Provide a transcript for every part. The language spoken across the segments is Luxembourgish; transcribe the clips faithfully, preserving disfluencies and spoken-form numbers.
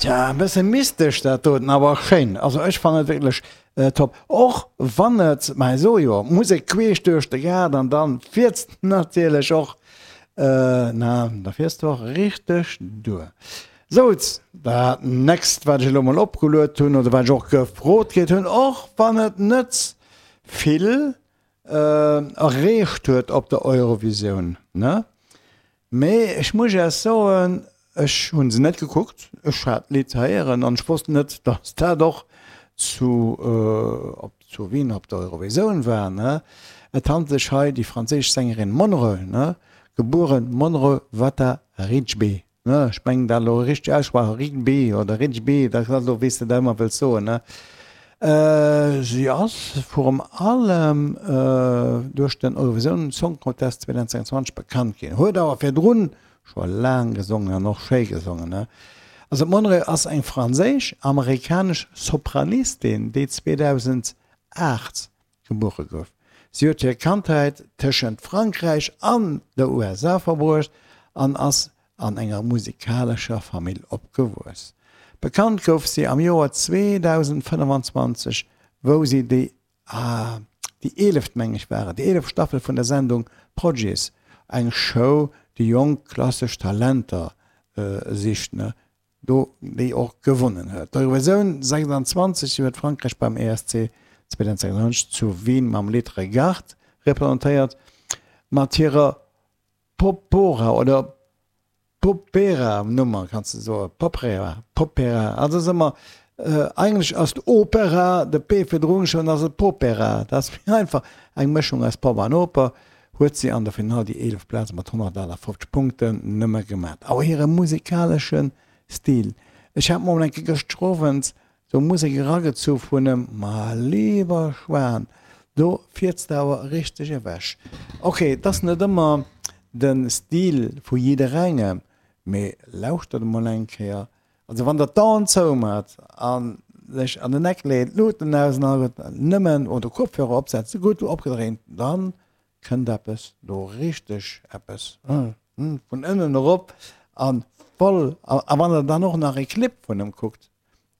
Tja, e bësse mystesch dat doten, awer schéin. Also ech fannen et wierklech top. Och wann et, ma ech soe jo, Musek queesch duerch de Gaart an dann fiers de natierlech och, na, da fiers de och richteg duer. Souz, dat nächst wat ech elo mol opgeluet hunn oder wat ech och gefrot kritt hunn, och wann et net vill erreecht huet op der Eurovisioun, ne, mee ech muss Iech soen, ech hunn se net gekuckt, ech hat d'Lidd héieren an ech wosst net, datt dat och zu op zu Wien op der Eurovisioun war, ne. Et handelt sech hei déi franséisch Sängerin Monreux, ne, gebueren Monreux Vata Rijbe, ne, ech mengen dat elo richteg ausgesprach, Rigby oder Rijbe, dat ass elo wéi s de dat ëmmer wëlls soen, ne. Si ass virum allem duerch den Eurovision Song Contest zweedausendzwouandzwanzeg bekannt ginn, huet awer virdrun scho laang gesongen an och schéi gesongen. Also d'Monroe ass eng franséisch-amerikanesch Sopranistin, déi zweedausendacht gebuere gouf. Si huet hir Kandheet tëschent Frankräich an der U S A verbruecht an ass an enger musikalescher Famill opgewuess. Bekannt gouf si am Joer zweedausendfënnefanzwanzeg, wou si déi, ah, déi eeleft, meng ech war et, déi eeleft Staffel vun der Sendung Prodigies, eng Show, déi jonk klassesch Talenter sicht, ne, do déi och gewonnen huet. D'Eurovisioun sechsandzwanzeg huet Frankräich beim E S C zweedausendsechsundzwanzeg zu Wien mam Lidd Regarde representéiert, mat hirer Popora oder Popera Nummer, kanns de soen, Popera, Popera, also ass ëmmer, eigentlech ass d'Opera, de P virdrun schon, ass et Popera, dat ass méi einfach, eng Mëschung aus Pop an Oper, huet si an der Finall déi eelef Plaz mat honnertaachfofzeg Punkten nëmme gemat. Awer hire musikalesche Stil, ech hat mol eng Kéier gëschter Owend sou Musek eragezu vun em, ma lieber Schwan, do fiers de awer richteg ewech. Ok, et ass net ëmmer de Stil vu jidderengem, mee lauschtert emol eng Kéier. Also wann der d'Aen zoumat an sech an den Eck leet, d'Luuten aus an all, nëmmen oder Kopfhörer opsetzt, sou gutt opgedréint, dann kënnt eppes do richteg eppes vun ënnen erop an voll. A wann der dann och nach e Clip vun em kuckt,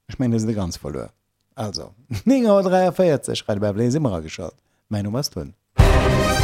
ech mengen, da sidd der ganz verluer. Also, néng Auer dräiavéierzeg, Radio Bärbel, si mer ageschalt. Mäin Numm ass Tun.